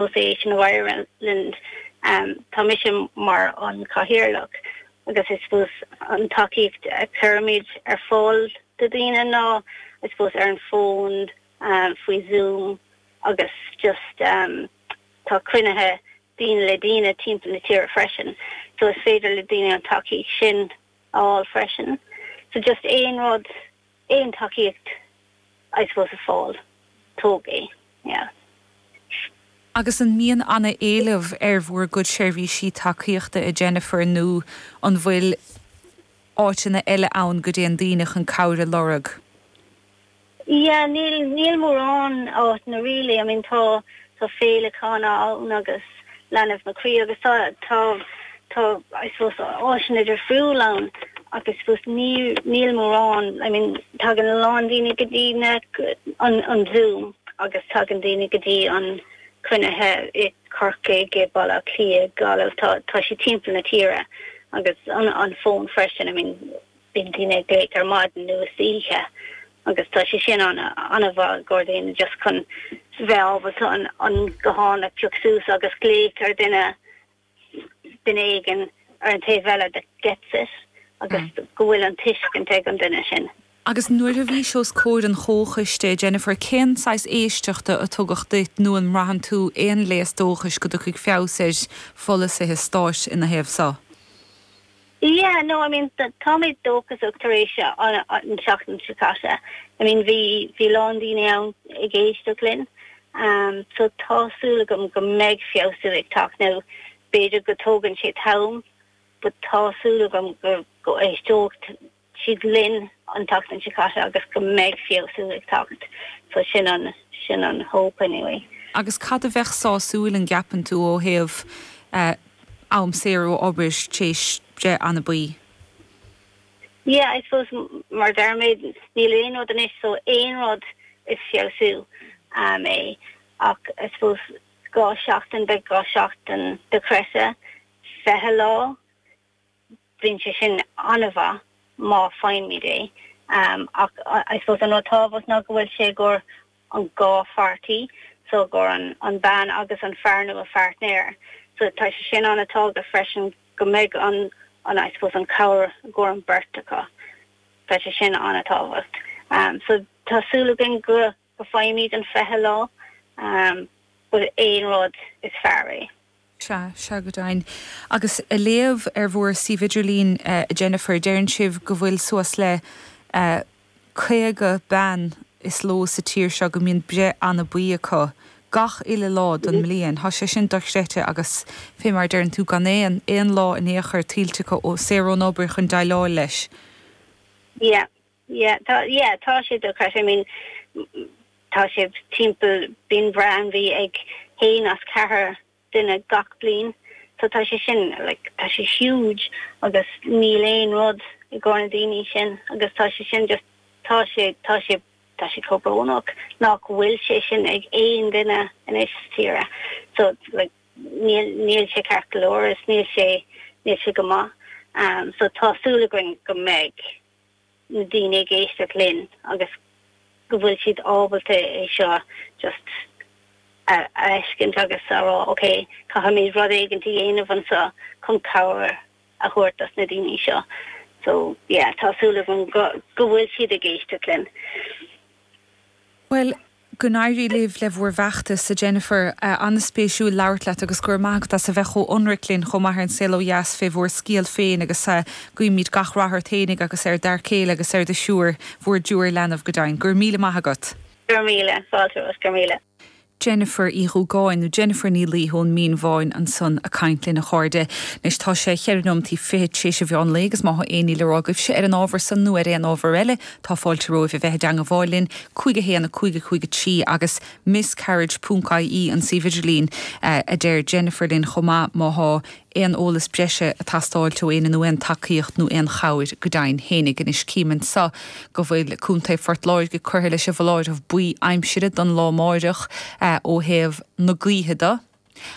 Association of Ireland tá mise mar an cathaoirleach agus I suppose an tacaíocht a chuirimid ar fáil do daoine ná I suppose ar an bhfón faoi Zoom agus just tá cruinnithe daoine le daoine timpeall na tíre freisin so is féidir le daoine an tacaíocht sin a fháil freisin. So just aon rud, aon tacaíocht I suppose a fáil, tóg é, yeah. Agus an mbíonn ana-éileamh ar bhur gcuid seirbhísí tacaíochta a Jennifer nó an bhfuil áiteanna eile ann go dtéann daoine chun cabhair a lorg? Yeah, níl, níl mórán áiteanna really, I mean tá, tá féileacáin ann agus Leanbh mo Chroí agus tá, tá, tá I suppose áiseanna difriúil ann ach I suppose ní, níl mórán, I mean tagann a lán daoine go dtí na, an, an Zoom agus tagann daoine go dtí an cruinnithe i Corcaigh, i Baile Átha Cliath, Gaillimh, tá, tá sé timpeall na tíre agus an, an fón freisin, I mean Bíonn daoine ag glaoch ar maidin nó istoíche agus tá sé sin an-mhaith i gcomhair daoine just chun bheith ábalta an guthán a phioc suas agus glaoch ar duine, duine éigin ar an taobh eile that gets it agus go bhfuil an tuiscint ag an duine sin. Agus nuair a bhís os comhair an chomhchoiste, Jennifer, cén saghas éisteachta a tugadh duit nó an mbraitheann tú aon léas dóchais go dtiocfaidh feabhas ar pholasaithe stáit ina thaobh so? Yeah, no, I mean, tá mé dóchasach tar éis an tseachtain seo caite. I mean, bhí, bhí a lán daoine ann ag éisteacht linn. Um, so tá súil agam go mbeidh feabhsú ag teacht. Now, b'fhéidir go tógann sé t-am, but tá súil agam go, go éisteoidh siad linn an tseachtain seo caite agus go mbeidh feabhsú ag teacht. So sin an, sin an hope anyway. Agus cad a bheadh sásúil, an gceapann tú, ó thaobh eh, am saor ó obair tar éis breith anabaí? Yeah, I suppose mar deir mé, níl aon rud anois so aon rud is feabhsú um, é ach I suppose 2 seachtain, beidh 2 seachtain dochreidte, 20 lá, Bíonn sé sin an-mhaith má faighimid é ach I suppose an rud tábhacht ná go bhfuil sé i gcomhair an dhá pháirtí so i gcomhair an bean agus an fear nó a pháirtnéir so tá sé sin an-tábhachtach freisin go mbeidh an an I suppose an cabhair i gcomhair an beirt acu. Tá sé sin an-tábhacht. So tá súil againn go go bhfaighimid an 20 lá but aon rud is fearr é. Sea, sea go deimhin. Agus ag léamh ar bhur suíomh idirlín, a Jennifer, deireann sibh go bhfuil suas le 50 bean is ló sa tír seo go mbíonn breith anabaí acu gach uile lá don mbliain. Tá sé sin dochreidte agus fé mar a deireann tú gan aon, aon lá in aon chor tuillte acu ó saor ón obair chun déileáil leis. Yeah, yeah, tá, yeah, tá sé dochreidte. I mean, tá sé timpeall, bíonn breith anabaí ag haon as ceathair duine gach bliain. So tá sé sin, like, tá sé huge agus níl aon rud i gcomhair na daoine sin agus tá sé sin just, tá sé, tá sé, tá sé chomh brónach nach bhfuil sé sin ag aon duine anois sa tíre. So, like, níl, níl sé ceart go leor is níl sé, níl sé go maith. Um, so tá súil againn go mbeidh na daoine ag éisteacht linn agus go bhfuil siad ábalta é seo just a fheiscint agus a rá ok, caithfimid rud éigin a dhéanamh anseo chun cabhair a thabhairt dos na daoine seo. So yeah, tá súil agam go go bhfuil siad ag éisteacht linn. Bhuel, Go n-éirí libh le bhur bhfeachtas, a Jennifer. An-spéisiúil labhairt leat agus go raibh maith agat as a bheith chomh hionraic linn chomh maith ar An Saol Ó Dheas fé bhur scéal féin agus guímid gach rath ort fhéinig agus ar d'fhear céile agus ar do thriúr, bhur dtriúr leanbh go deimhin. Go raibh míle maith agat. Go raibh míle, fáilte romhat, go raibh míle. Jennifer Uí Dhúgáin, nó Jennifer Ní Laoi ón Mín Bháin ansan a' caint linn a chairde. Anois tá sé cheithre nóimeataí fichead t'éis an mheán lae agus má thá aon ní le rá agaibhse ar an ábhar san nó ar aon ábhar eile tá fáilte romhaibh a bheith i dteangabháil linn, 5 1 5 5 3 agus miscarriage ponc ie an suíomh idirlín a deir Jennifer linn chomh maith má thá aon eolas breise a' teastáilt ó éinne nó aon tacaíocht nó aon chabhair go deimhin fhéinig. Anois cím anso go bhfuil Contae Phort Láirge curtha leis an bhfoláireamh buí aimsire don lá amáireach ó thaobh na gaoithe de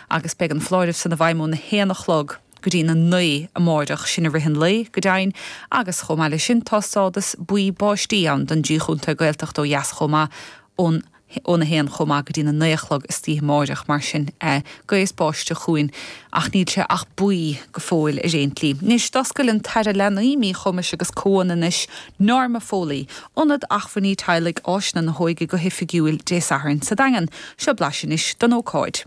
agus beidh an foláireamh san i bhfeidhm óna haon a chlog go dtí na naoi amáireach, sin i rith an lae, go deimhin, agus chomh maith leis sin tá stádas buí báistí ann don dtrí chontae Gaeltachta ó dheas chomh maith ón. Óna haon chomh maith go dtí'n 9 a chlog istoíche amáireach, mar sin gaoth is báisteach chugainn ach níl sé ach buí go fóill ar aon tslí. Anois, d'oscail an tAire Leanaí, Míchumais agus Comhionannais, Norma Foley, Ionad Acmhainní Teaghlaigh Áiseanna na hÓige go hoifigiúil Dé Sathairn sa Daingean. Seo blaiseadh anois den ócáid.